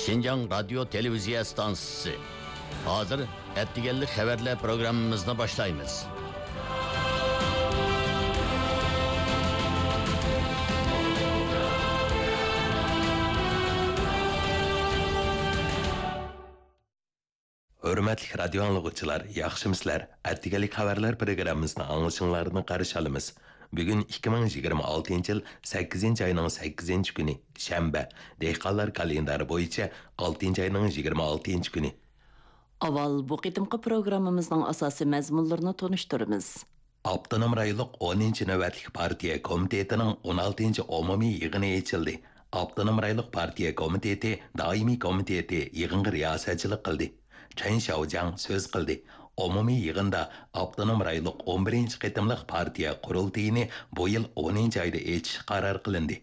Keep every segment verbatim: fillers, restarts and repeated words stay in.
شىنجاڭ رادىيو تېلېۋىزىيە ئىستانسىسى. ھازىر ئەتىگەنلىك خەۋەرلەر پروگراممىمىزنى باشلايمىز. ھۆرمەتلىك رادىيو ئاڭلىغۇچىلار، ياخشىمۇسىلەر؟ ئەتىگەنلىك خەۋەرلەر پروگراممىسىنى ئاڭلىشىڭلارنى قارشى ئالىمىز. بۈگۈن ئىككى مىڭ يىگىرمە ئالتىنچى يىل سەككىزىنچى ئاينىڭ سەككىزىنچى كۈنى، شەنبە، دېھقانلار كالېندارى بويىچە ئالتىنچى ئاينىڭ يىگىرمە ئالتىنچى كۈنى. ئاۋۋال بۇ قېتىمقى پروگراممىمىزنىڭ ئاساسىي مەزمۇنلىرىنى تونۇشتۇرىمىز. ئاپتونوم رايونلۇق ئونىنچى نۆۋەتلىك پارتىيە كومىتېتىنىڭ ئون ئالتىنچى ئومۇمىي يىغىنى ئېچىلدى. ئاپتونوم رايونلۇق پارتىيە كومىتېتى دائىمىي كومىتېتى يىغىنغا رىياسەتچىلىك قىلدى. چېن شياۋجياڭ سۆز قىلدى. ئومۇمىي يىغىندا ئاپتونوم رايونلۇق ئون بىرىنچى قېتىملىق پارتىيە قۇرۇلتىيىنى بۇ يىل ئونىنچى ئايدا ئېچىش قارار قىلىندى.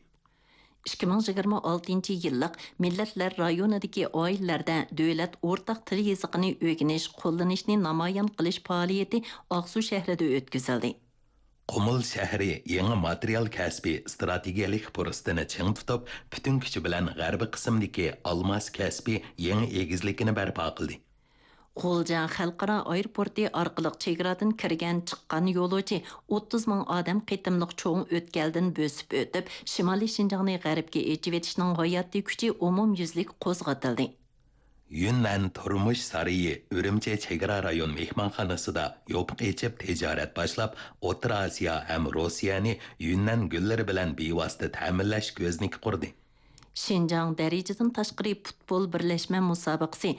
ئىككى مىڭ يىگىرمە ئالتىنچى يىللىق مىللەتلەر رايونىدىكى ئائىلىلەردە دۆلەت ئورتاق تىل يېزىقىنى ئۆگىنىش، قوللىنىشنى نامايان قىلىش پائالىيىتى ئاقسۇ شەھىرىدە ئۆتكۈزۈلدى. قۇمۇل شەھىرى يېڭى ماتېرىيال كەسپى ئىستراتېگىيەلىك پۇرسىتىنى چىڭ تۇتۇپ، پۈتۈن كۈچى بىلەن غەربىي قىسىمدىكى ئالماس كەسپى يېڭى ئېگىزلىكىنى بەرپا قىلدى. غۇلجا خەلقئارا ئايروپورتى ئارقىلىق چېگرادىن كىرگەن، چىققان يولۇچى ئوتتۇز مىڭ ئادەم قېتىملىق چوڭ ئۆتكەلدىن بۆسۈپ ئۆتۈپ، شىمالىي شىنجاڭنى غەربكە ئېچىۋېتىشنىڭ ھاياتىي كۈچى ئومۇميۈزلۈك قوزغىتىلدى. يۈننەن تۇرمۇش سارىيى ئۈرۈمچى چېگرا رايون مېھمانخانىسىدا يوپۇق ئېچىپ تىجارەت باشلاپ، ئوتتۇرا ئاسىيا ھەم روسىيەنى يۈننەن گۈللىرى بىلەن بىۋاسىتە تەمىنلەش كۆزنىكى قۇردى. شىنجاڭ دەرىجىدىن تاشقىرى پۇتبول بىرلەشمە مۇسابىقىسى